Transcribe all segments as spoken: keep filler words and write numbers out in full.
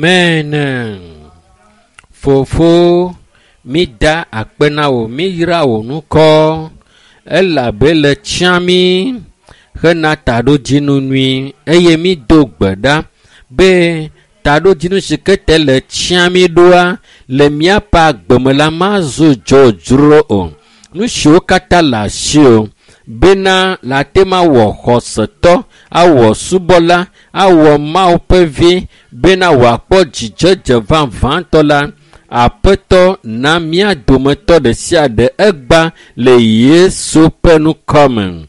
Amen. Fofo, mi da akpe na wò, mi yra wò ŋkɔ elabe le tsiã mí hena taɖodzinu nyui eye mi do gbe ɖa be taɖodzinu si ke te le tsiã mí ɖoa le míaƒe agbeme la mazu dzodzro o. Nu siwo katã le asiwò bena le ate ŋu awɔ xɔsetɔ, awɔ subɔla, awɔ Mawu ƒe vi bena wòakpɔ dzidzedze vavãtɔ la, Aƒetɔ na mía dometɔ ɖe sia ɖe egba le Yesu ƒe ŋkɔ me.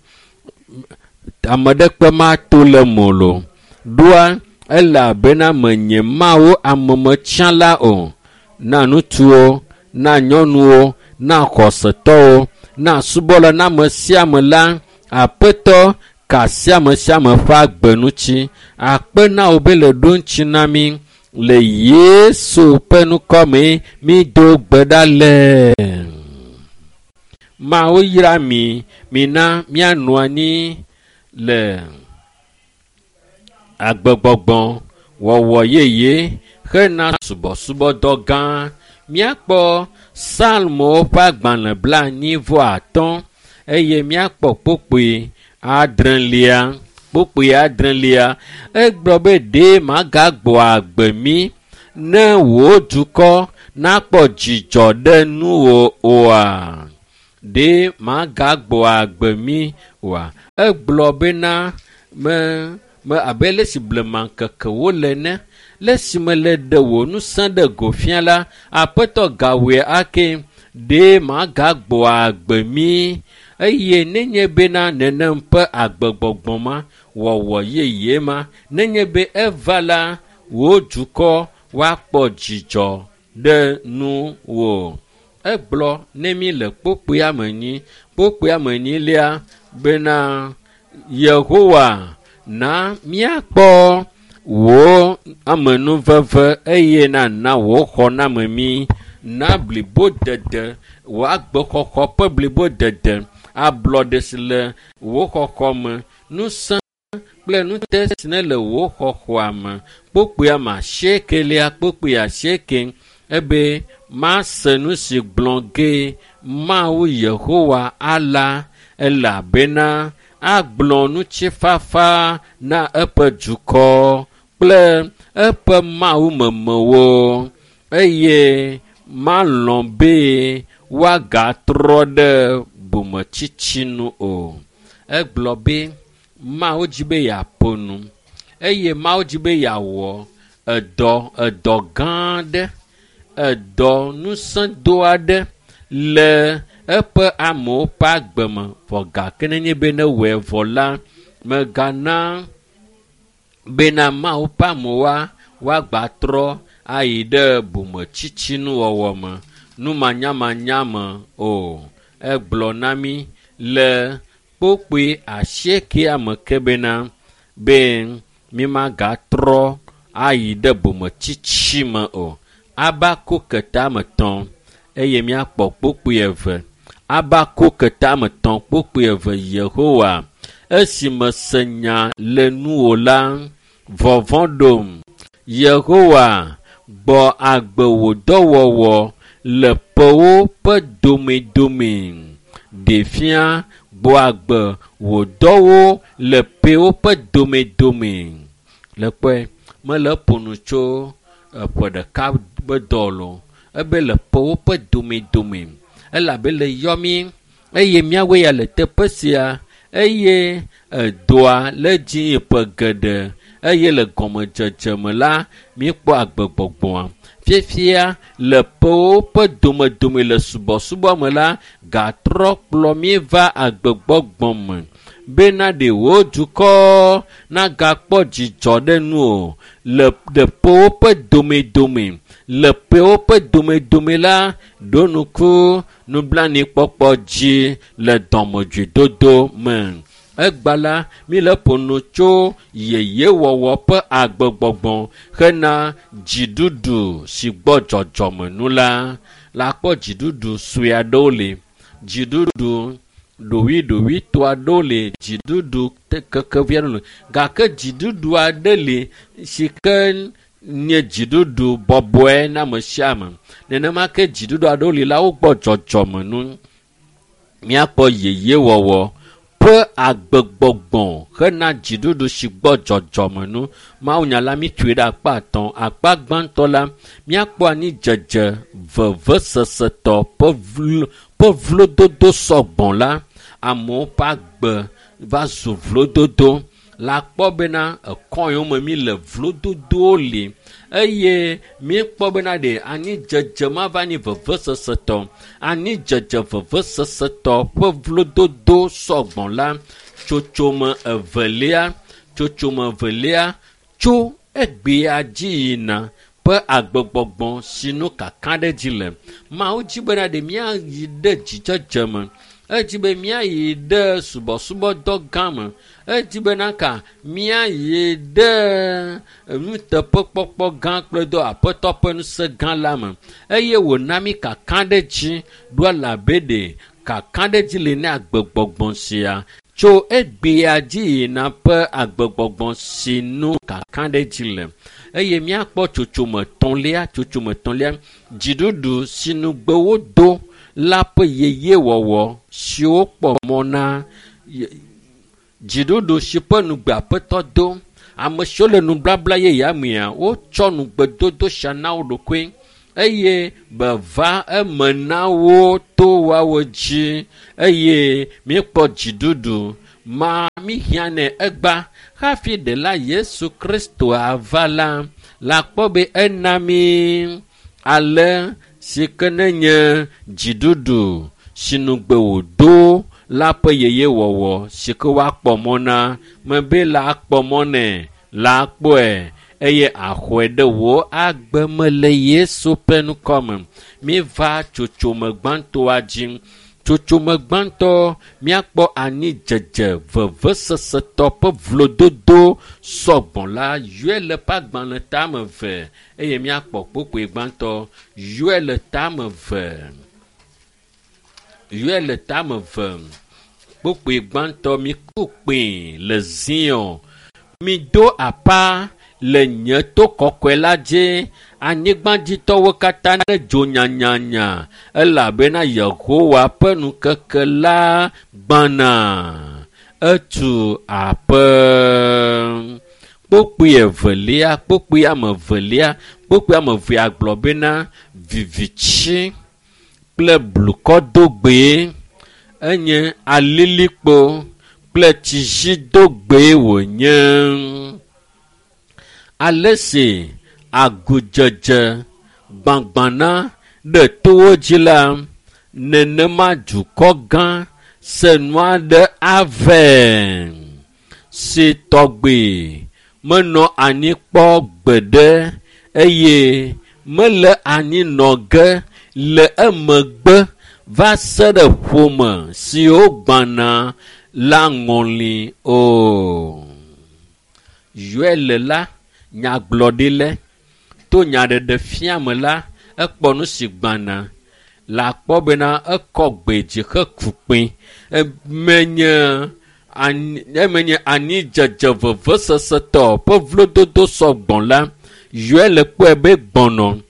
Ame ɖekpe mato le mo lo. Ɖoa elabena menye Mawu amemetsãla o. Na ŋutsuwo, na nyɔnuwo, na xɔsetɔwo, na subɔla, na ame sia ame la, Aƒetɔ ka sia ame sia ame ƒe agbe ŋuti. Akpe na wò be le ɖo ŋuti na mí le Yesu ƒe ŋkɔ me mído gbe ɖa le. Mawu yra mi, mina míanɔ anyi le agbegbɔgbɔ wɔwɔ yeye hena subɔsubɔdɔ gã. Míakpɔ Psalmowo ƒe agbalẽ blaenyi vɔ atɔ̃ eye míakpɔ kpukpui adrelia. Kpukpui adrelia egblɔ be ɖe magagbɔ agbe mí ne wò dukɔ nakpɔ dzidzɔ ɖe nuwò oa? Ɖe magagbɔ agbe mí oa? Egblɔ bena me me abe le si blema ŋkekewo le ene, le esime le ɖe wò ŋusẽ ɖe go fia la, Aƒetɔ gawɔe ake. Ɖe magagbɔ agbe mí eye nenye bena nenem ƒe agbegbɔgbɔ ma wɔwɔ yeye ma, nenye be eva la, wò dukɔ woakpɔ dzidzɔ ɖe nuwò. Egblɔ ne mí le kpukpuia me nyi, kpukpuia me nyilia bena Yehowa na míakpɔ wò amenuveve eye nana wò xɔname mí na blibodede, wò agbexɔxɔ ƒe blibodede, ablɔɖe si le wò xɔxɔ me, ŋusẽ kple ŋute si ne le wò xɔxɔa me. Kpukpuia me asiekelia, kpukpui asieke ebe mase nu si gblɔ ge Mawu Yehowa ala elabena agblɔ ŋutifafa na eƒe dukɔ kple eƒe mawumemewo eye malɔ̃ be woagatrɔ ɖe bometsitsi nu o. Egblɔ be Mawu dzi be yeaƒo nu eye Mawu dzi be yeawɔ edɔ edɔ gã aɖe, edɔ ŋusẽdo aɖe le eƒe amewo ƒe agbe me vɔ gake nenye be ne wɔe vɔ la, megana bena Mawu ƒe amewoa woagbatrɔ ayi ɖe bometsitsi nuwɔwɔ me, numanyamanya me o. Egblɔ na mí le kpukpui asiekea me ke bena be mímagatrɔ ayi ɖe bometsitsi me o. Habakuk tame etɔ̃ eye míakpɔ kpukpui eve. Habakuk tame etɔ̃ kpukpui eve Yehowa esi mese nya le nuwò la, vɔvɔ̃ ɖom. Yehowa gbɔ agbe wò dɔwɔwɔ le ƒewo ƒe domedome. Ɖe fia gbɔ agbe wò dɔwo le ƒewo ƒe domedome. Le kpɔe mele ƒo nu tso eƒe ɖeka ƒe dɔ lo. Ebe le ƒewo ƒe domedome elabe le yɔ mí eye míawoe ya le teƒe sia eye edoa le dzi ƒe geɖe eye le gɔmedzedze me la míekpɔ agbegbɔgbɔa. Fiafia le ƒewo ƒe domedome le subɔsubɔ me la gatrɔ kplɔ mí va agbegbɔgbɔ me bena ɖe wò dukɔ nagakpɔ dzidzɔ ɖe nu o le ɖe ƒewo ƒe domedome le ƒewo ƒe domedome la ɖo ŋku nublanuikpɔkpɔ dzi le dɔmedzoedodo me. Egba la, míle ƒo nu tso yeyewɔwɔ ƒe agbegbɔgbɔ hena dziɖuɖu si gbɔ dzɔdzɔme nu la. La kpɔ dziɖuɖu sue aɖewo li, dziɖuɖu ɖoɖoeɖoɖoetɔ aɖewo li, dziɖuɖu kekevi aɖewo li gake dziɖuɖu aɖe li si ke nye dziɖuɖu bɔbɔe na ame sia ame. Nenema ke dziɖuɖu aɖewo li la wogbɔ dzɔdzɔme nu. Míakpɔ yeyewɔwɔ ƒe agbegbɔgbɔ hena dziɖuɖu si gbɔ dzɔdzɔme nu. Mawunya la mítsoe ɖe akpa atɔ̃. Akpa gbãtɔ la, míakpɔ anidzedze vevesesetɔ ƒe vlo ƒe vlododo sɔgbɔ la. Amewo ƒe agbe va zu vlododo. La kpɔ bena ekɔ yiwo me mi le vlododowo li eye míekpɔ bena ɖe anidzedze ma va nyi vevesesetɔ. Anidzedze vevesesetɔ ƒe vlododo sɔgbɔ la tsotsome evelia tsotsome evelia tso egbea dzi yina ƒe agbegbɔgbɔ si nu kakaɖedzi le. Mawu dzi bena ɖe míayi ɖe dzidzedze me. Edzi be míayi ɖe subɔsubɔdɔ gã me. Edzi bena ka míayi ɖe nuteƒekpɔkpɔ gã kple dɔ aƒetɔ ƒe ŋusẽ gã la me. Eye wòna mí kakaɖedzi ɖo elabe ɖe kakaɖedzi li na agbegbɔgbɔ sia tso egbea dzi yina ƒe agbegbɔgbɔ si nu kakaɖedzi le. Eye míakpɔ tsotsome etɔ̃lia tsotsome etɔ̃lia dziɖuɖu si nugbe wodo la ƒe yeyewɔwɔ siwo kpɔ mɔ na dziɖuɖu si ƒe nugbe aƒetɔ do. Ame siwo le nublabla yeyea mea, wotsɔ nugbedodo sia na wo ɖokui eye beva eme na wo to woawo dzi eye míekpɔ dziɖuɖu ma míhiã nɛ egba hafi ɖela Yesu Kristo ava la, la kpɔ be ena mí ale si ke nenye dziɖuɖu si nugbe wòdo la ƒe yeyewɔwɔ si ke woakpɔ mɔ na mebe la kpɔ mɔ nɛ la kpɔe eye axɔe ɖe wò agbe me le Yesu ƒe ŋkɔme. Míeva tsotsome gbãtɔa dzi. Tsotsome gbãtɔ míakpɔ anidzedze vevesesetɔ ƒe vlododo sɔgbɔ la yɔe le ƒe agbalẽ tame eve eye míakpɔ kpokpoe gbãtɔ yɔe le tame eve. Yɔe le tame eve. Kpokpoe gbãtɔ miku kpẽ le Zion. Mido aƒa le nye to kɔkɔe la dzi. Anyigbadzitɔwo katã ne dzo nyanyanya elabena Yehowa ƒe ŋkeke la gbɔna. Etu aƒe. Kpokpoe evelia, kpokpoe ame evelia, kpokpoe ame evea gblɔ bena vivitsi kple blukɔdogbee enye alilikpo kple tsizidogbee wònye. Ale si agudzedze gbagbana ɖe towo dzi la, nenema dukɔ gã senu aɖe ave si tɔgbe menɔ anyi kpɔ gbeɖe eye mele anyi nɔ ge le emegbe va se ɖe ƒome siwo gbãna la ŋɔli o. Yoel la nyagblɔɖilɛ to nyaɖeɖe fia me la ekpɔ nu si gbãna la kpɔ bena ekɔ gbe dzi heku kpẽ. Emenye anyi emenye anidzedze vevesesetɔ ƒe vlododo sɔgbɔ la Yoel kpɔe be gbɔnɔ.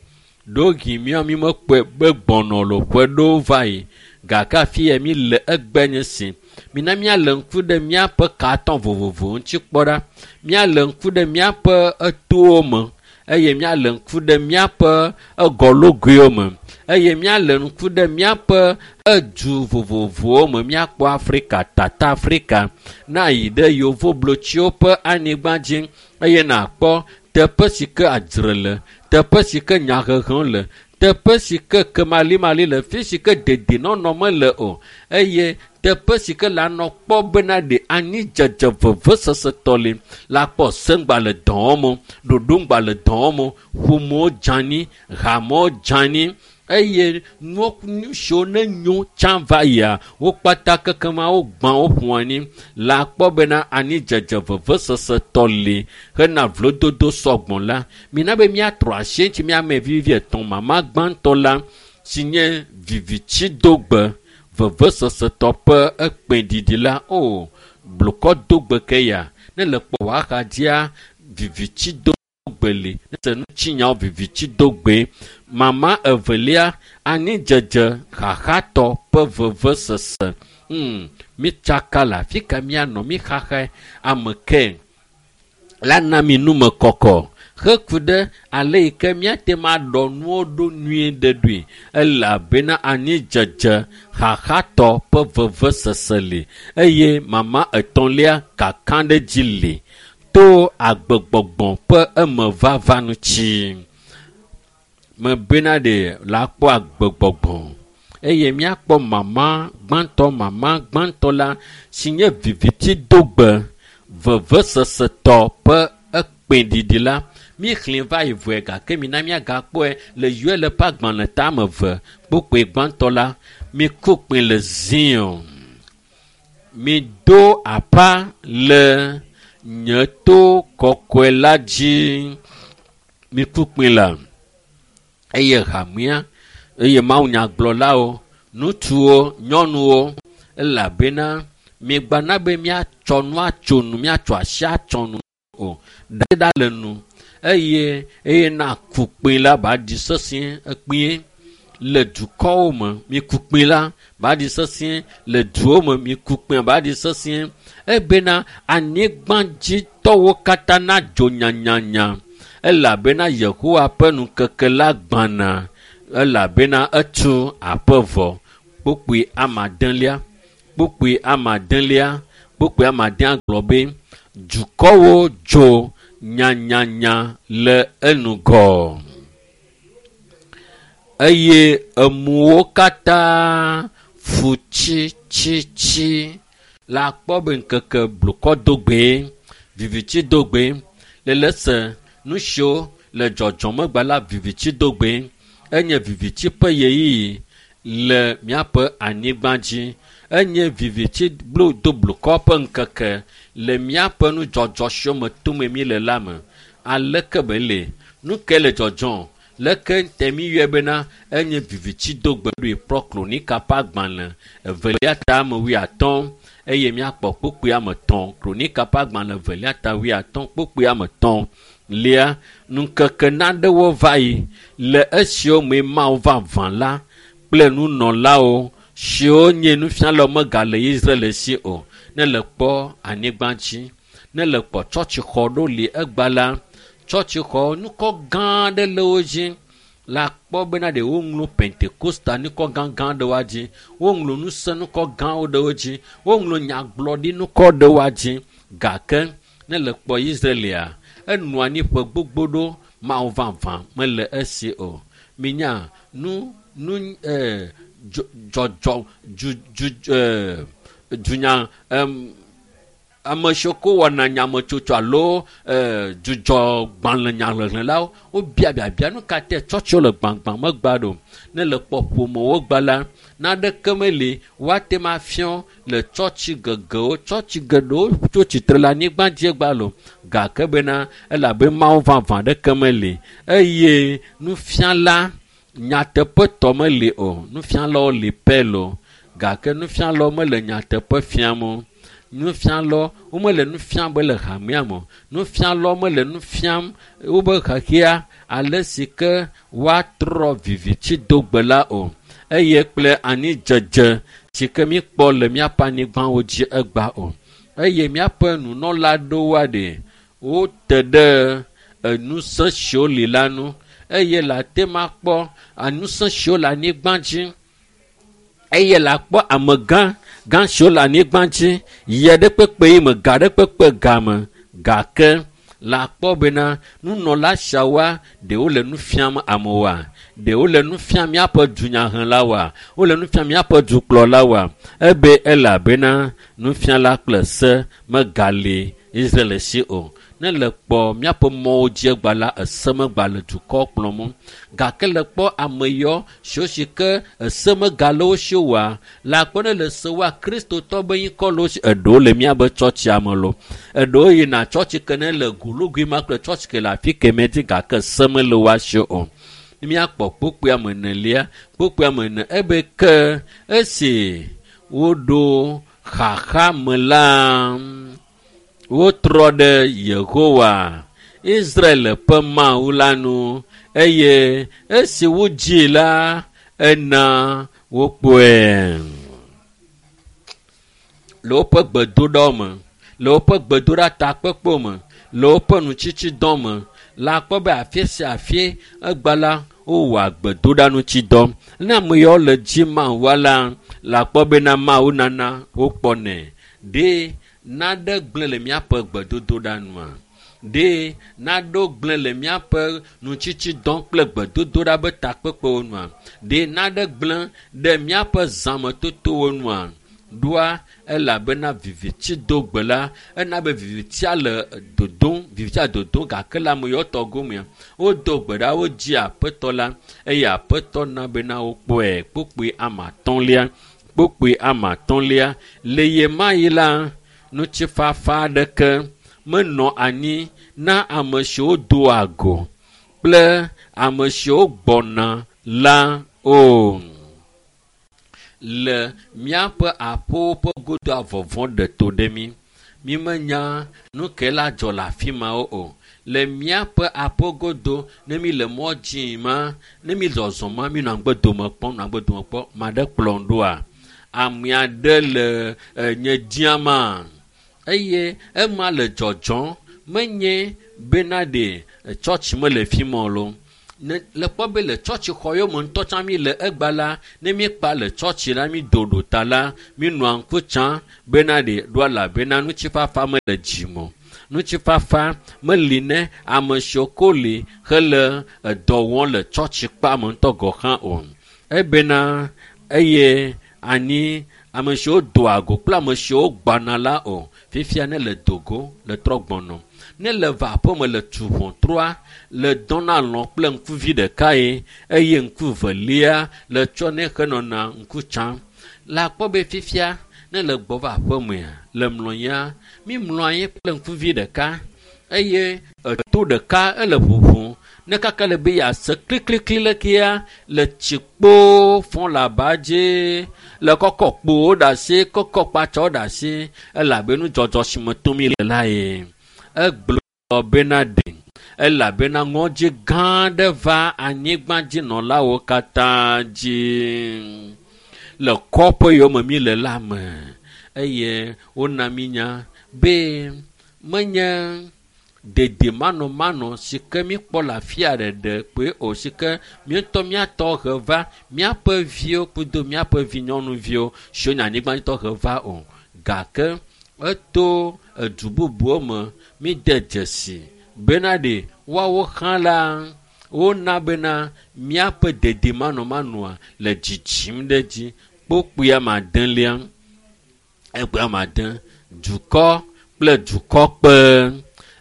Ɖewohĩ míawo mímekpɔe be gbɔnɔ le ƒe ɖewo va yi gake afi ya mi le egbe nye si. Mina míalé ŋku ɖe míaƒe katɔ vovovowo ŋuti kpɔ ɖa. Míalé ŋku ɖe míaƒe etowo me eye míalé ŋku ɖe míaƒe egɔlogoewo me eye míalé ŋku ɖe míaƒe edu vovovowo me. Míakpɔ Afrika, Tata Afrika, na yi ɖe yevoblotsiwo ƒe anyigba dzi eye nàkpɔ teƒe si ke adzre le, teƒe si ke nyahehewo le, teƒe si ke kemalimali le, fi si ke dedienɔnɔ mele o eye teƒe si ke la nɔ kpɔ bena ɖe anidzedze vevesesetɔ li la kpɔ seŋgba le dɔ wɔm o, ɖoɖoŋgba le dɔ wɔm o, ƒomewo dze anyi, hamewo dze anyi eye nuwo nu siwo ne nyo tsã va yia wo kpata kekema wogbã wo ƒo anyi la kpɔ bena anidzedze vevesesetɔ li hena vlododo sɔgbɔ la. Mina be míatrɔ asi eŋuti míame vivi etɔ̃ mama gbãtɔ la si nye vivitsidogbe vevesesetɔ ƒe ekpẽɖiɖi la o blukɔdogbe ke ya ne le kpɔ wò axadzia vivitsido Gbeli se ŋutsinyawo viviti dogbe. Mama evelia anidzedze xaxatɔ ƒe vevesese. Hmm, mitsaka le afi ka míanɔ míxaxae ame ke la na mi numekɔkɔ heku ɖe ale yi ke míate ŋu aɖɔ nuwo ɖo nyuie ɖe ɖoe elabena anidzedze xaxatɔ ƒe vevesese li eye mama etɔ̃lia kakaɖedzi li to agbegbɔgbɔ ƒe emevava ŋuti. Mebena ɖe la kpɔ agbegbɔgbɔ eye míakpɔ mama gbãtɔ mama gbãtɔ la si nye viviti dogbe vevesesetɔ ƒe ekpẽɖiɖi la míexlẽ va yi vɔe gake mina míagakpɔe le Yoel ƒe agbalẽ tame eve kpukpui gbãtɔ la miku kpẽ le Zion mido aƒa le nye to kɔkɔe la dzi miku kpẽ la eye hamea eye mawunyagblɔlawo ŋutsuwo nyɔnuwo elabena migbana be míatsɔ nu atso nu míatsɔ asi atsɔ nu o ɖa le nu eye eye na ku kpẽ la ba ɖi sesĩe ekpẽe le dukɔwo me miku kpẽ la ba ɖi sesĩe le duwo me miku kpẽ ba ɖi sesĩe ebena anyigbadzitɔwo katã nadzo nyanyanya elabena Yehowa ƒe ŋkeke la gbãna elabena etu aƒe vɔ. Kpukpui amadelia kpukpui amadelia kpukpui amadea gblɔ be dukɔwo dzo nyanyanya le enugɔ eye emuwo katã fu tsitsitsi la kpɔ be ŋkeke blukɔ dogbe viviti dogbe le le se nu siwo le dzɔdzɔmegbe la viviti dogbe enye viviti ƒe ɣeyiɣi le míaƒe anyigba dzi enye viviti blu do blukɔ ƒe ŋkeke le míaƒe nudzɔdzɔ siwo me tom mí le la me. Aleke be le? Nu ke le dzɔdzɔm? Leke te míyɔe bena enye viviti dogbe ɖoe kplɔ Kronika ƒe agbalẽ evelia ta ame wuiatɔ̃ eye míakpɔ kpukpui ame etɔ̃. Kronika ƒe agbalẽ evelia ta wuiatɔ̃ kpukpui ame etɔ̃ lia ŋkeke naɖewo va yi le esiwo me Mawu vavã la kple nunɔlawo siwo nye nufialawo megale Israel si o. Ne le kpɔ anyigba dzi, ne le kpɔ tsɔtsixɔ ɖo li egba la, tsɔtsixɔ nukɔ gã aɖe le wo dzi la kpɔ bena ɖe woŋlɔ Pentekosta nukɔ gãgã ɖewoa dzi, woŋlɔ ŋusẽ nukɔ gãwo ɖewo dzi, woŋlɔ nyagblɔɖi nukɔ ɖewoa dzi gake ne le kpɔ Israelia enɔ anyi ƒe gbogbo ɖo Mawu vavã mele esi o. Minya nu nu ɛɛ dzɔdzɔ dzu dzu ɛɛ dunya ɛm ame siwo ko wɔna nyametsotso alo ɛɛ dzudzɔgbalẽ nyahlẽlawo wobia biabia nu ka te tsɔtsiwo le gbagbã megba ɖo. Ne le kpɔ ƒomewo gba la naneke meli woate ŋu afiɔ le tsɔtsi gegewo tsɔtsi geɖewo tso tsitre le anyigba dzi egba lo gake bena elabe Mawu vavã ɖeke meli eye nufiala nyateƒetɔ meli o. Nufialawo li pɛ lo gake nufialawo mele nyateƒe fiam o. Nufialawo womele nu fiam be le hamea me o. Nufialawo mele nu fiam wobe xexea ale si ke woatrɔ viviti dogbe la o eye kple anidzedze si ke míkpɔ le míaƒe anyigbawo dzi egba o. Eye míaƒe nunɔla ɖewoa ɖe wote ɖe enusẽ siwo li la ŋu eye le ate ŋu akpɔ enusẽ siwo le anyigba dzi eye le akpɔ amegã gã siwo le anyigba dzi yie ɖe kpekpe yi me ga ɖe kpekpe game gake le akpɔ bena nunɔla siawoa ɖewo le nu fiam amewoa ɖewo le nu fiam míaƒe dunyahelawoa wole nu fiam míaƒe dukplɔlawoa ebe elabena nufiala kple se megali Israel si o. Ne le kpɔ míaƒe mɔwo dzi egba la ese megba le dukɔ kplɔm o. Gake le kpɔ ame yawo siwo si ke ese megale wo si oa le akpɔ ne le se woa kristotɔ be ŋkɔ le wo si eɖewo le míabe tsɔtsia me lo. Eɖewo yina tsɔtsi ke ne le gulugui ma kple tsɔtsi ke le afi kemɛ dzi gake se mele woa si o. Míakpɔ kpukpui ame enelia kpukpui ame ene ebe ke esi woɖo xaxa me la wotrɔ ɖe Yehowa Israel ƒe Mawu la nu eye esi wodzi la ena wokpɔe. Le woƒe gbedoɖawo me, le woƒe gbedoɖa takpekpewo me, le woƒe nutsitsidɔ me, la kpɔ be afi sia afi egba la wowɔa gbedoɖa ŋutidɔ. Ne ame yawo le dzi Mawua la, la kpɔ bena Mawu nana wokpɔnɛ. Ɖe naɖe gblẽ le míaƒe gbedodoɖa nua? Ɖe naɖewo gblẽ le míaƒe nutsitsidɔ kple gbedodoɖa be takpekpewo nua? Ɖe naɖe gblẽ ɖe míaƒe zãmetotowo nua? Ɖoa elabena viviti do gbe la, ena be vivitia le dodom, vivitia dodom gake le ame yawo tɔ gomea, wodo gbe ɖa, wodzi aƒetɔ la eye aƒetɔ na bena wokpɔe. Kpukpui ame atɔ̃lia, kpukpui ame atɔ̃lia, le ɣe ma ɣi la, ŋutifafa aɖeke menɔ anyi na ame siwo doa go kple ame siwo gbɔna la o. Le míaƒe aƒewo ƒe godoa vɔvɔ̃ ɖe to ɖe mí. Mímenya nu ke la dzɔ le afi mawo o. Le míaƒe aƒe godo, ne mi le mɔ dzi ma, ne mi zɔzɔm ma, mi nɔ agbedome kpɔm, nɔ agbedome kpɔm, ame aɖe kplɔm ɖoa? Ame aɖe le nye dziama eye ema le dzɔdzɔm menye bena ɖe tsɔtsi mele fi ma o loo. Ne le kpɔ be le tsɔtsi xɔ yome ŋutɔ tsã mi le egba la, ne míekpa le tsɔtsi la, mi do ɖo ta la, mi nɔa ŋku tsã bena ɖe ɖoa elabena ŋutifafa mele dzime o. Ŋutifafa meli ne ame siwo ko li hele edɔ wɔm le tsɔtsi kpa me ŋutɔ gɔ̃ hã o. Ebena eye anyi ame siwo doa go kple ame siwo gbana la o. Fifia ne le dogo le trɔ gbɔnɔ. Ne le va aƒeme le tu ʋɔtrua, le dɔna lɔ̃ kple ŋkuvi ɖekae eye ŋku velia le tsɔ ne henɔna ŋku tsam. La kpɔ be fifia ne le gbɔ va aƒemea, le mlɔ anyia, mi mlɔ anyi kple ŋkuvi ɖeka eye eto ɖeka ele ʋuʋum. Ne kaka le be yease kliklikli le kea, le tsi kpoo fɔ le aba dzi, le kɔkɔ kpowo ɖe asi, kɔkɔ kpatsɔ ɖe asi, elabe nudzɔdzɔ si me tom mi le la ye. Egblɔ bena ɖe, elabena ŋɔdzi gã aɖe va anyigbadzinɔlawo katã dzi le kɔƒe yiwo me mi le la me eye wona mi nya be menye dedemanɔmanɔ si ke míkpɔ le afi aɖe kpoe o, si ke míŋutɔ míatɔ he va míaƒe viwo kudo míaƒe vinyɔnuviwo siwo nye anyigbadzitɔ he va o, gake eto edu bubuwo me míde dzesi bena ɖe woawo hã la wona bena míaƒe dedemanɔmanɔa le dzidzim ɖe edzi. Kpukpui ame adelia, ekpui ame ade, dukɔ kple dukɔ kpe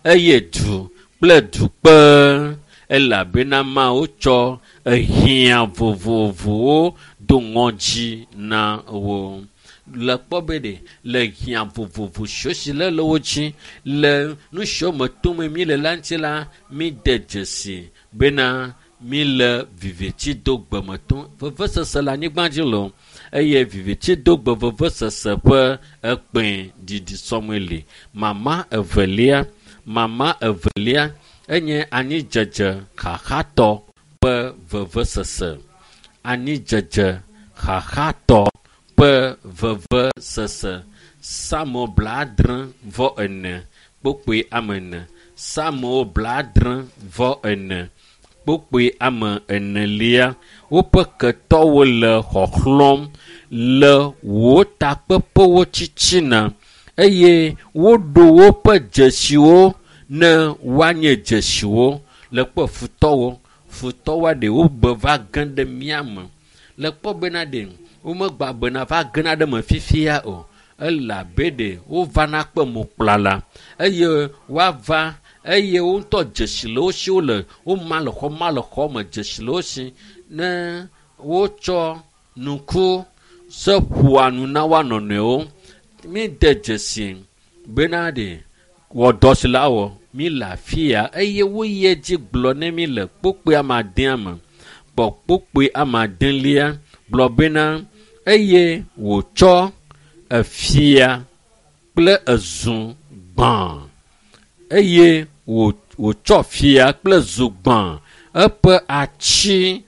eye du kple du kpe elabena Mawu tsɔ ehiã vovovowo do ŋɔdzi na wo. Le kpɔ be ɖe le hiã vovovo siwo si le le wo dzi le nu siwo me tom mi le la ŋuti la, mi de dzesi bena mi le viviti do gbe me tom. Vevesese le anyigba dzi le o eye viviti do gbe vevesese ƒe ekpẽ didi sɔmɔe li. Mama evelia, mama evelia enye anyidzedze xaxatɔ ƒe vevesese. Anyidzedze xaxatɔ ƒe vevesese. Psalmo blaadre vɔ ene kpukpui ame ene. Psalmo blaadre vɔ ene kpukpui ame enelia. Woƒe ketɔwo le xɔxlɔ̃m le wò takpeƒewo tsitsina eye woɖo woƒe dzesiwo ne woanye dzesiwo. Le kpɔ futɔwo, futɔwoa ɖe wobe va ge ɖe mía me. Le kpɔ bena ɖe womegba bena va gena ɖe me fifia o. Elabe ɖe wovana kpe mokplala eye woava eye wo ŋutɔ dzesi le wo si wole woma le xɔ ma le xɔ me dzesi le wo si ne wotsɔ nuku se ƒoa nu na woa nɔnɔewo. Mi de dzesi bena ɖe wɔ dɔ si la wɔ mi le afi ya eye woyi edzi gblɔ ne mi le kpukpui ame adea me. Kpɔ kpukpui ame adelia gblɔ bena eye wòtsɔ efia kple ezu gbã eye wò wòtsɔ fia kple zogbã eƒe atsi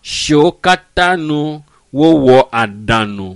siwo katã nu wowɔ aɖaŋu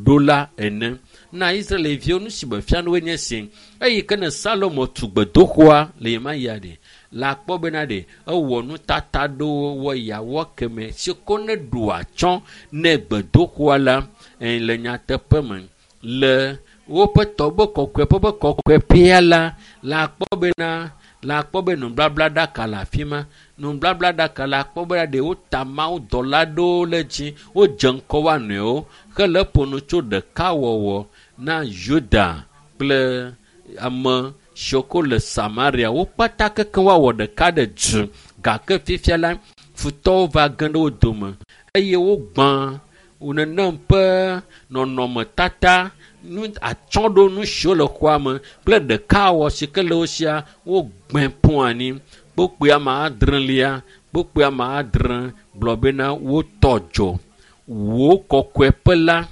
ɖo la ene. Na Israelviwo nu si me fia woe nye si. Eyi ke ne Salomo tu gbedoxɔa le ɣe ma ɣia ɖe, la kpɔ bena ɖe ewɔ nutata ɖewo wɔ yeawɔ keme si ko ne ɖo atsyɔ̃ ne gbedoxɔa la le nyateƒe me le woƒe tɔgbe kɔkɔeƒe ƒe kɔkɔeƒea la la kpɔ bena la kpɔ be nubablaɖaka le afi ma. Nubablaɖaka la kpɔ bena ɖe wota mawudɔla ɖewo le dzi wodze ŋkɔ woa nɔewo hele ƒo nu tso ɖekawɔwɔ na Yuda kple ame siwo ko le Samaria. Wo kpata kekeŋ woawɔ ɖeka ɖe du gake fifia la futɔwo va ge ɖe wo dome eye wogbã nenem ƒe nɔnɔmetata nu atsyɔ̃ɖonu siwo le xɔa me kple ɖekawɔ si ke le wo sia wogbẽ ƒu anyi. Kpukpui ame adrelia kpukpui ame adre gblɔ bena wotɔ dzo wò kɔkɔeƒe la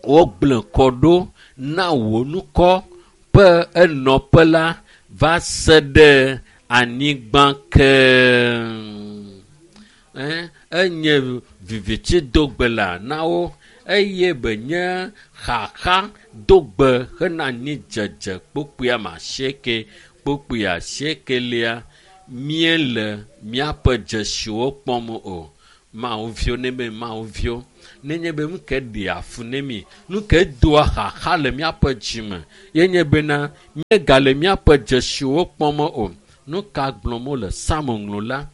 wogblẽ kɔ ɖo na wò ŋkɔ ƒe enɔƒe la va se ɖe anyigba ke. Enye viviti dogbe la na wo eye benye xaxa dogbe hena anyidzedze. Kpukpui ame asieke kpukpui asiekelia míele míaƒe dzesiwo kpɔm o. Mawuviwo ne be Mawuviwo nenye be nu ke ɖea fu ne mi nu ke doa xaxa le míaƒe dzime ye nye bena míegale míaƒe dzesiwo kpɔm o. Nu ka gblɔm wole Psalmo ŋlɔla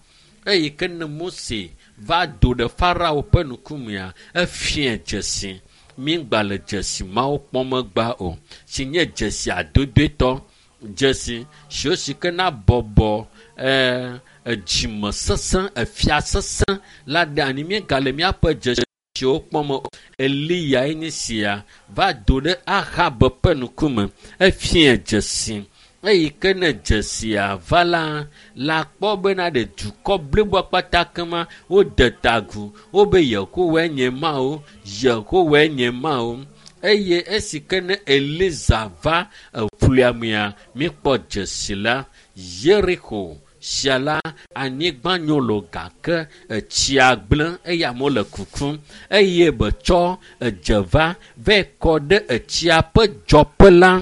eyi ke ne Mose va do ɖe Farao ƒe ŋkumea efia dzesi. Mígba le dzesi mawo kpɔm egbea o si nye dzesi adodoetɔ dzesi siwo si ke na bɔbɔ ɛɛ edzime sesẽ efia sesẽ la ɖe anyi. Míegale míaƒe dzesiwo kpɔm o. Eliya nye sia va do ɖe Ahab ƒe ŋkume efia dzesi. Eyi ke ne dzesia va la la kpɔ bena ɖe dukɔ bliboa kpata kema wode ta agu wobe Yehowae nye Mawu, Yehowae nye Mawu. Eye esi ke ne Eliza va eƒlia mea míkpɔ dzesi la Yeriko sia la anyigba nyo lo gake etsia gblẽ eye amewo le kukum eye betsɔ edze va vɛ kɔ ɖe etsia ƒe dzɔƒe la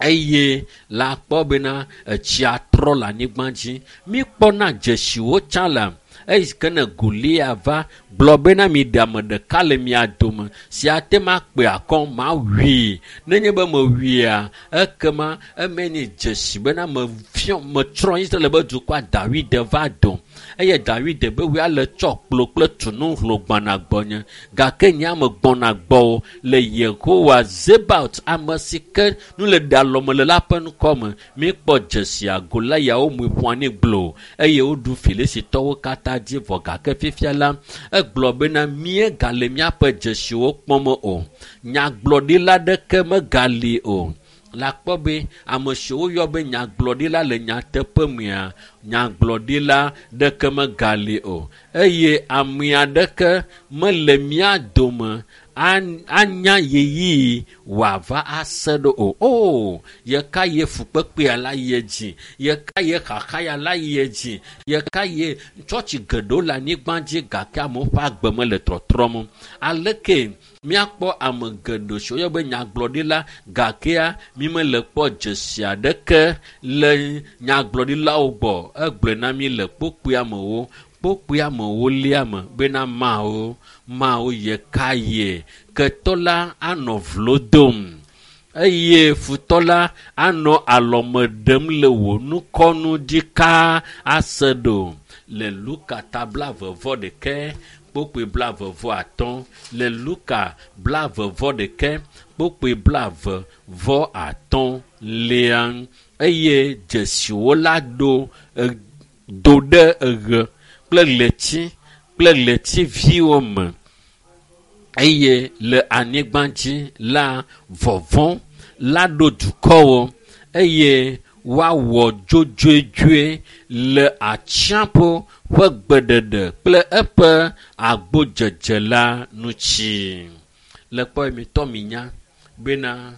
eye la kpɔ bena etsia trɔ le anyigba dzi. Míkpɔna dzesiwo tsã la eyi ke ne Golia va gblɔ bena mi ɖe ame ɖeka le mia dome si ate ma kpe akɔ mawui. Nenye be mewuia ekema eme nye dzesi bena mefiɔ metsrɔ̃ Israel be dukɔa Dawid va do eye Dawid be woa le tsɔ kplo kple tunu hlo gbɔna gbɔnye gake nye ame gbɔna gbɔwò le Yehowa Zebaot ame si ke nu le ɖe alɔme le la ƒe ŋkɔ me. Míkpɔ dzesia Goliawo mui ƒu anyi gbloo eye woɖu Filisitɔwo katã dzi vɔ gake fifia la egblɔ bena míegale míaƒe dzesiwo kpɔm o. Nyagblɔɖila ɖeke megali o. La kpɔ be ame siwo woyɔ be nyagblɔɖila le nyateƒe mea nyagblɔɖila ɖeke megali o eye ame aɖeke mele mía dome anya ɣeyiɣi wòava ase ɖo o. O yeka ye fukpekpea la yi edzi, yeka ye xaxa ya la yi edzi, yeka ye tsɔtsi geɖewo le anyigba dzi gake amewo ƒe agbe mele trɔtrɔm. Aleke míakpɔ ame geɖe siwo woyɔ be nyagblɔɖila gakea mímele kpɔ dzesi aɖeke le nyagblɔɖilawo gbɔ. Egblɔe na mí le kpukpui amewo kpukpui amewo lia me bena Mawu Mawu yeka ye ketɔ la anɔ vlo dom eye futɔ la anɔ alɔme ɖem le wò nukɔnu ɖikaa ase ɖo. Le Luka ta blaeve vɔ ɖekɛ kpukpui blaeve vɔ atɔ̃ le Luka blaeve vɔ ɖekɛ kpukpui blaeve vɔ atɔ̃ lia eye dzesiwo la ɖo do ɖe eɣe kple ɣleti kple ɣletiviwo me eye le anyigba dzi la vɔvɔ̃ la ɖo dukɔwo eye woawɔ dzodzoedzoe le atsiaƒu ƒe gbeɖeɖe kple eƒe agbodzedze la ŋuti. Le kpɔ mitɔ minya bena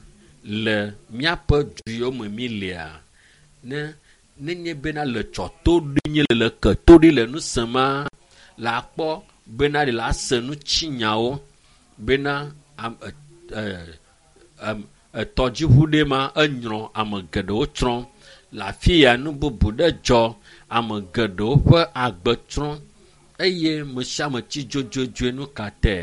le míaƒe du yiwo me mílea ne Nenye bena le tsɔ to ɖi nye le ke to ɖi le nu sema la kpɔ bena ɖe la se nutsinyawo bena am, e, e, etɔdziʋu ɖe ma enyrɔ ame geɖewo tsrɔ̃. Le afi ya nu bubu ɖe dzɔ ame geɖewo ƒe agbe tsrɔ̃ eye me sia ame tsi dzodzodzoe nu ka tɛ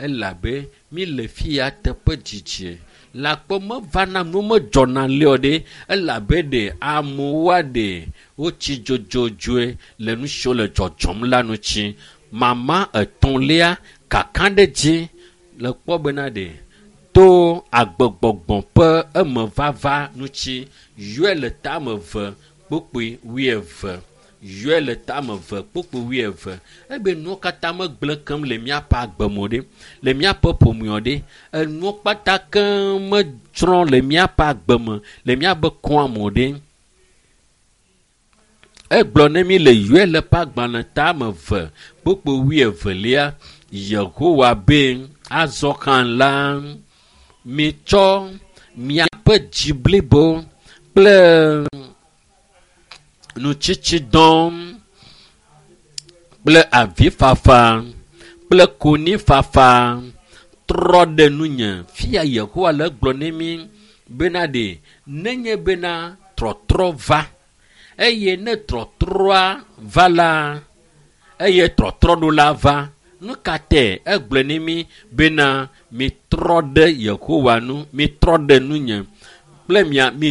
elabe mi le fi ya teƒe dzidzi le akpɔ mevana nu medzɔna le o ɖe elabe ɖe amewoa ɖe wotsi dzodzodzoe le nu siwo le dzɔdzɔm la ŋuti. Mama etɔ̃lia kakaɖedzi le kpɔ bena ɖe to agbegbɔgbɔ ƒe emevava ŋuti yɔe le tame eve kpukpui wuieve yɔe le tame eve kpukpui wuieve ebe nuwo katã megblẽ kem le míaƒe agbe me o ɖe le míaƒe ƒome o ɖe enuwo kpata keŋ metsrɔ̃ le míaƒe agbe me le míaƒe kɔa me o ɖe. Egblɔ ne mi le yɔe le ƒe agbalẽ tame eve kpukpui wuievelia Yehowa be azɔ hã la mitsɔ miaƒe dzi blibo kple nutsitsidɔ kple avifafa kple konyifafa trɔ ɖe nunye. Fia Yehowa le gblɔ ne mi bena ɖe nenye bena trɔtrɔ va eye ne trɔtrɔa va la eye trɔtrɔ ɖo la va nu ka tɛ egblɔ ne mi bena mitrɔ ɖe Yehowa nu mitrɔ ɖe nunye kple mia mi